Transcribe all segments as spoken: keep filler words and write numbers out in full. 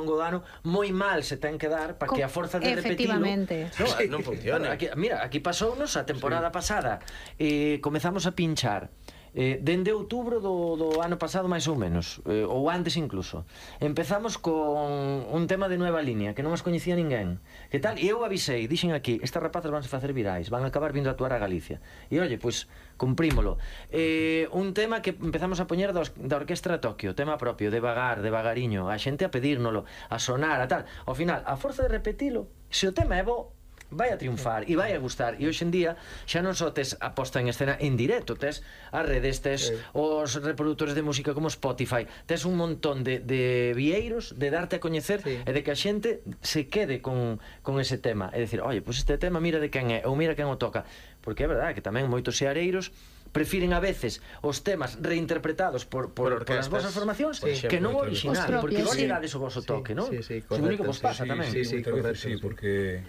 longo do ano moi mal se ten que dar para que a forza de repetilo. Efectivamente. No, sí, non funciona. Aquí, mira, aquí pasounos a temporada sí. pasada. Eh, comezamos a pinchar Eh, dende outubro do, do ano pasado máis ou menos, eh, ou antes incluso empezamos con un tema de nueva línea que non os coñecía ninguén, que tal, e eu avisei, dixen aquí, estas rapazas vanse facer virais, van a acabar vindo a actuar a Galicia, e oye, pois cumprímolo. Eh, un tema que empezamos a poñer da, da Orquestra Tokio, tema propio, devagar, devagariño, a xente a pedírnolo, a sonar, a tal, ao final, a forza de repetilo, se o tema é bo, vai a triunfar e vai a gustar, e hoxe en día xa non só tes a posta en escena en directo, tes as redes, tes sí. os reproductores de música como Spotify, tes un montón de, de vieiros de darte a coñecer sí. e de que a xente se quede con, con ese tema, é dicir, oye, pois este tema mira de quen é, ou mira quen o toca, porque é verdade que tamén moitos seareiros prefiren a veces os temas reinterpretados por, por, por, por as vosas formacións sí, que non o original, porque vos lle dades o voso toque, non? Sí, sí, o único que vos pasa sí, tamén. Sí, sí, correcto, sí, porque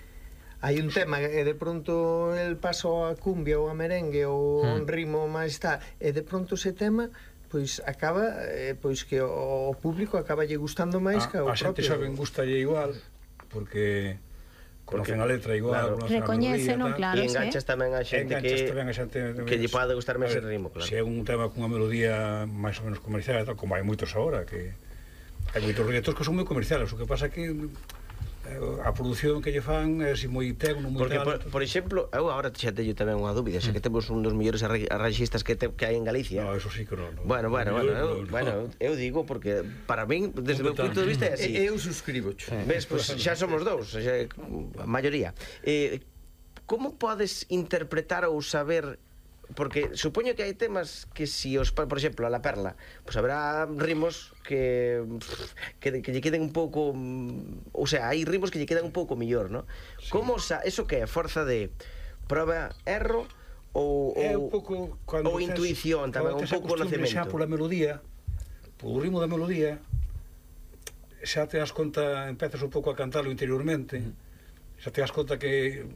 hai un tema e de pronto el paso a cumbia ou a merengue ou hmm. un ritmo máis tal, e de pronto ese tema pois acaba eh, pois que o público acaba lle gustando máis a, que o a xente propio. xa ben gustalle igual porque conocen a letra igual, claro. Recoñecen, non, claro, e enganchas sí. tamén a xente que tamén a xente que lle pode gustar máis el ritmo, claro. Se é un tema cunha melodía máis ou menos comercial, tal, como hai moitos agora, que hai moitos reggaetons que son moi comerciales, o que pasa que a produción que lle fan é así moi tecno, moi porque, tal. Por, por exemplo, eu agora xa teño tamén unha dúbida, xa que temos un dos mellores arranxistas que, te, que hai en Galicia. No, eso sí que non. No. Bueno, bueno, bueno, no, eu, no. bueno, eu digo porque para min, desde o meu punto de vista é así. Eu suscribo. Sí. Ves, pues, xa somos dous, xa, a maioría. Eh, como podes interpretar ou saber, porque supoño que hai temas que si os, por exemplo, a La Perla, pois pues habrá ritmos que que, que lle queden un pouco, o sea, hai ritmos que lle quedan un pouco mellor, ¿no? Sí. Como sa, eso que é forza de proba, erro ou é un pouco cando ou intuición tamén, un pouco conocemento. Xa pola melodía, polo ritmo da melodía, xa te das conta, empezas un pouco a cantalo interiormente, xa te das conta que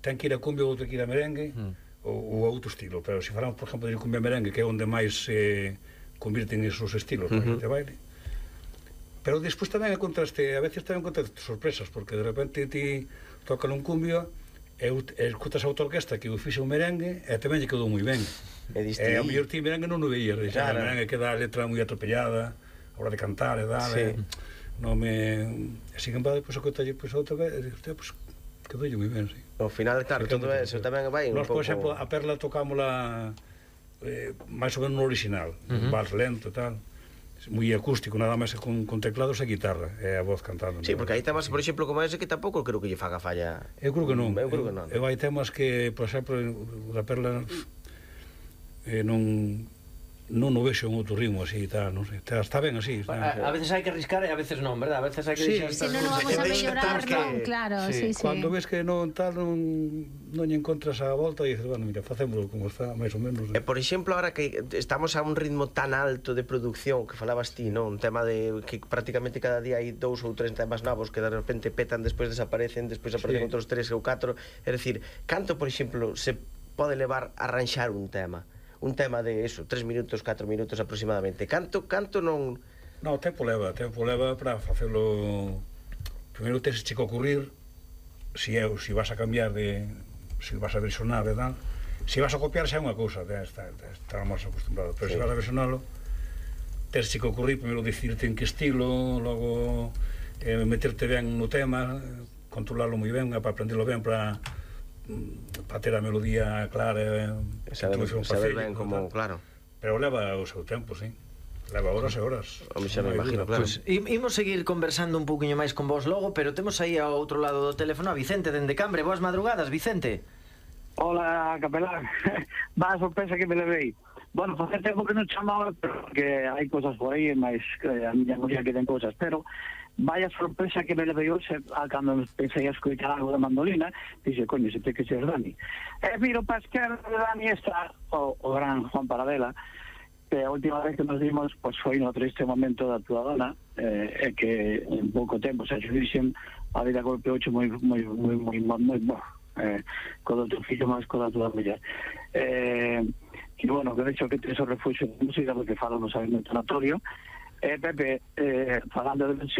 ten que ir a cumbia ou ten que ir a merengue, mm. ou, ou outro estilo, pero se falamos, por exemplo, de cumbia merengue, que é onde máis se eh, convirten esos estilos uh -huh. para que te baile, pero despois tamén encontraste, a veces tamén encontraste sorpresas, porque de repente ti tocan un cumbio e escutas a outra orquesta que o fixe un merengue e tamén lle quedou moi ben, e a mellor ti merengue non o veías, claro. A merengue queda a letra moi atropellada a hora de cantar e dar, sí. eh, non me... así que empade, pois, o que talle, pois, outra vez, e dixo, pois, quedou moi ben, sí. Ao final, claro, todo eso tamén vai un pouco... Nos, por exemplo, a Perla tocámola eh, máis ou menos no original, uh -huh. vals lento e tal, moi acústico, nada máis con, con teclados e guitarra, e a voz cantando. Sí, porque hai temas, por exemplo, como ese que tampouco creo que lle faga falla. Eu creo que non. Eu creo que non. Eu hai temas que, por exemplo, da Perla eh, non... non o vexo en outro ritmo así e tal, non sei, está ben así. A, a veces hai que arriscar e a veces non, verdad? A veces hai que sí, si non, non vamos a mellorar, non, claro, sí, sí. Cando ves que non tal, non non lle encontras a volta e dices, bueno, mira, facémolo como está, máis ou menos. E, por exemplo, ahora que estamos a un ritmo tan alto de producción, que falabas ti, non? Un tema de que prácticamente cada día hai dous ou tres temas novos que de repente petan, despois desaparecen, despois aparecen sí. outros tres ou catro, é dicir, canto, por exemplo, se pode levar a arranxar un tema? Un tema de eso, tres minutos, catro minutos aproximadamente. Canto, canto non... No, tempo leva, tempo leva para facelo... Primeiro tens que ocurrir si é, si vas a cambiar de... si vas a versionar e tal. Si vas a copiar xa é unha cousa, está, está máis acostumbrado, pero sí. Se vas a versionalo, tens que ocurrir primeiro dicirte en que estilo, logo eh, meterte ben no tema, controlarlo moi ben, para aprenderlo ben, para... para ter a melodía clara e saber, saber ben como, claro. Pero leva o seu tempo, sí. Leva horas e horas. O xa me imagino, claro. Pues, imos seguir conversando un pouquiño máis con vos logo, pero temos aí ao outro lado do teléfono a Vicente dende Cambre. Boas madrugadas, Vicente. Hola, capelán. Va a sorpresa que me levei. Bueno, facer tempo que non chamaba, porque hai cosas por aí, máis a miña muller que ten cosas, pero vaya sorpresa que me levei hoxe cando pensei a escoitar algo da mandolina, dixe, coño, se te que ser Dani. E miro para a esquerda de Dani está o, o gran Juan Paradela, que a última vez que nos dimos pues, foi no triste momento da túa dona, eh, e que en pouco tempo, xa xe dixen, a vida golpeou moi, moi, moi, moi, moi, moi, moi, eh, co do teu fillo máis co da túa muller. Eh, e bueno, que de hecho que tes o refuxo de música, porque falamos aí no tanatorio. Eh, Pepe, eh, falando de versión,